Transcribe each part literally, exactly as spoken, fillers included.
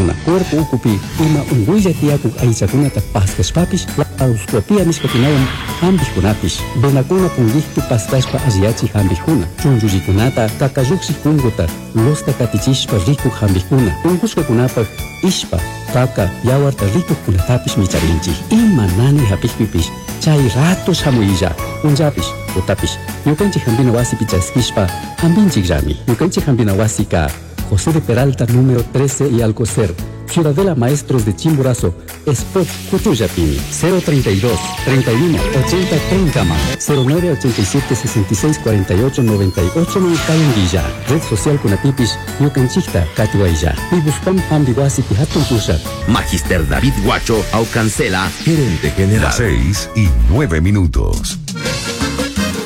Rurajkuna, cuerpo ukupi ima unkuylla tiyakuk aychakunata paskashpapish, laparoscopia nishkakunawan hampikkunapish, venakuna punkikpi paskashpa alliyachik hampikkuna, chunchullikunata kakalluksik punkuta losta katichishpa rikuk hampikkuna, unkushkakunapak ishpa, kaka, yawarta rikukkunatapish micharinchik. Ima nanay hapikpipish chay rato shamuylla, punllapish, tutapish, ñukanchik hampina wasipi chaskishpa hampinchikllami. Ñukanchik hampina wasika José de Peralta, número trece y Alcocer, Ciudadela Maestros de Chimborazo, Spot Cutullapimi, cero treinta y dos treinta y uno ochenta treinta más, cero nueve ochenta y siete sesenta y seis cuarenta y ocho noventa y ocho Guilla, Red Social Kunapipish, ñukanchikta katiwaylla. Pibuspam Hampi Wasipi hatun pushak. Magister David Guacho Aucancela, gerente general. seis y nueve minutos.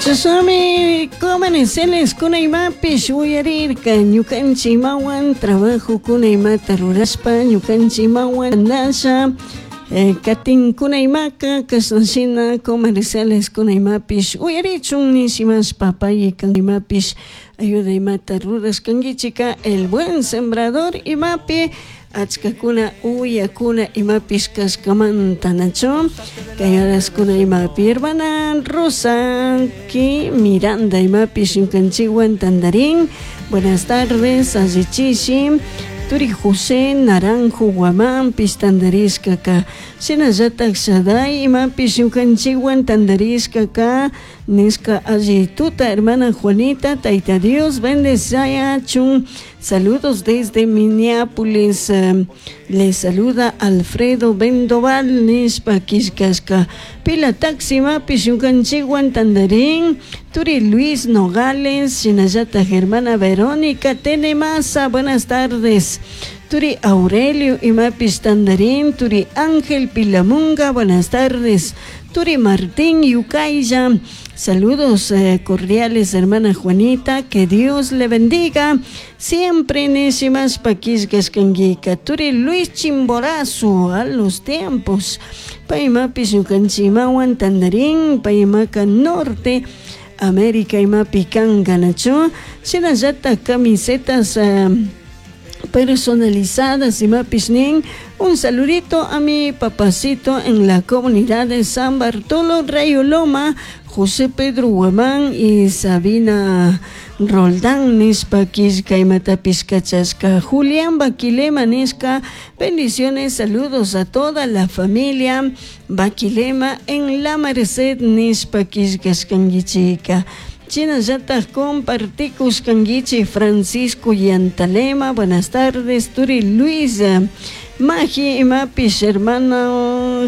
Chashnami comerciales kuna imapish uyarirka ñukanchik imawan trabajo kuna imata rurashpa ñukanchik imawan nasha eh, katinkuna imaka kashnashina comerciales kuna imapish uyarichun nishimashpa payka imapish ayuda imata rurashkankichika. El Buen Sembrador imapi achkakuna uyakuna imapish kashkamanta nachu kay horaskuna imapi hermana Rosa ki Miranda imapish ñukanchikwan tandarin. Buenas tardes, allichishi. Turi José Naranjo Guamánpish tandarishkaka, shinallatak Shaday imapish ñukanchikwan tandarishkaka nishka alli tuta, hermana Juanita, Taita Dios bendecayachun. Saludos desde Minneapolis, eh, les saluda Alfredo Vendoval nishpa killkashka. Pila Taxi imapish ñukanchikwan tandarin. Turi Luis Nogales, shinallatak hermana Verónica Tenemasa, buenas tardes. Turi Aurelio imapish tandarin. Turi Ángel Pilamunga, buenas tardes. Turi Martín Yucaya, saludos eh, cordiales, hermana Juanita, que Dios le bendiga. Siempre nishimashpa killkashkankika. Turi Luis Chimborazo, a los tiempos. Paymapish ñukanchimawan tandarin, paymaka Norte América imapi kanka nachu. Shinallatak camisetas eh, personalizadas imapish nin, un saludito a mi papacito en la comunidad de San Bartolo Rayo Loma, José Pedro Guamán y Sabina Roldán nishpa killka imatapish kachashka. Julián Baquilema nishka, bendiciones, saludos a toda la familia Baquilema en La Merced nishpa killkashkankichika. Shinallatak compartikushkankichik Francisco Yantalema, buenas tardes. Turi Luis Magi imapish, hermano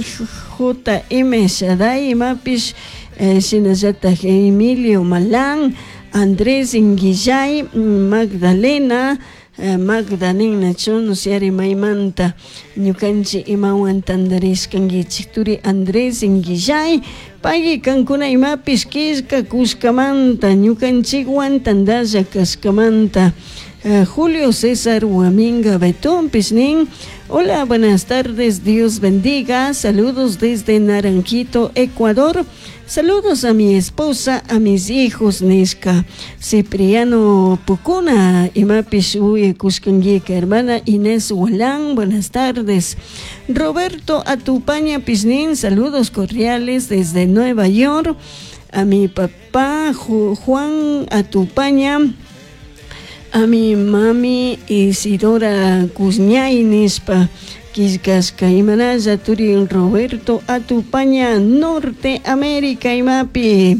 J M Shaday imapish, eh, shinallatak Emilio Malán, Andrés Inguillay, Magdalena eh, Magdalena chunusyari maymanta ñukanchik imawan tandarishkankichik. Turi Andrés Inguillay payki kankuna imapish killkakushkamanta ñukanchikwan tandalla kashkamanta. eh, Julio César Huaminga Betónpish nin, hola, buenas tardes, Dios bendiga, saludos desde Naranjito, Ecuador. Saludos a mi esposa, a mis hijos, nishka. Cipriano Pucuna, imapish uyakushkanguika, hermana Inés Hualán, buenas tardes. Roberto Atupaña pish nin, saludos cordiales desde Nueva York. A mi papá Juan Atupaña, a mi mami Isidora Cusñay nishpa killkashka. Imanalla turi Roberto Atupaña, Norte América imapi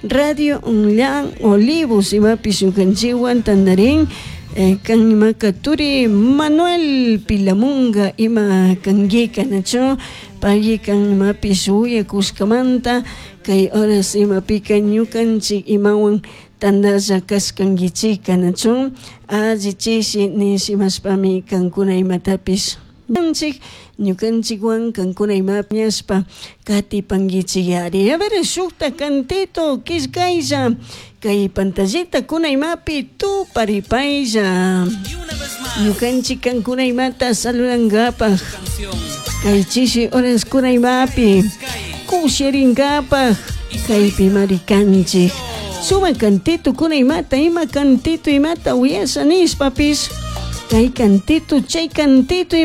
Radio Online Olivos imapi ñukanchikwan tandarin. eh, kan imaka turi Manuel Pilamunga ima kankika nachu payki kan imapish uyakushkamanta kay horas imapika ñukanchik imawan tandalla kashkankichika nachu alli chishi nishimashpami kankuna imatapish ñukanchik ñukanchikwan kankuna imapiñashpa katipankichik. A ver, shukta cantito killkaylla kay pantallita kuna imapi tuparipaylla ñukanchik kankuna imata saludankapaj kay chishi horas kuna imapi kushirinkapak kaypi marikanchik. Suma cantito kuna imata ima cantito imata uyasha nishpapish kay cantito chay cantito.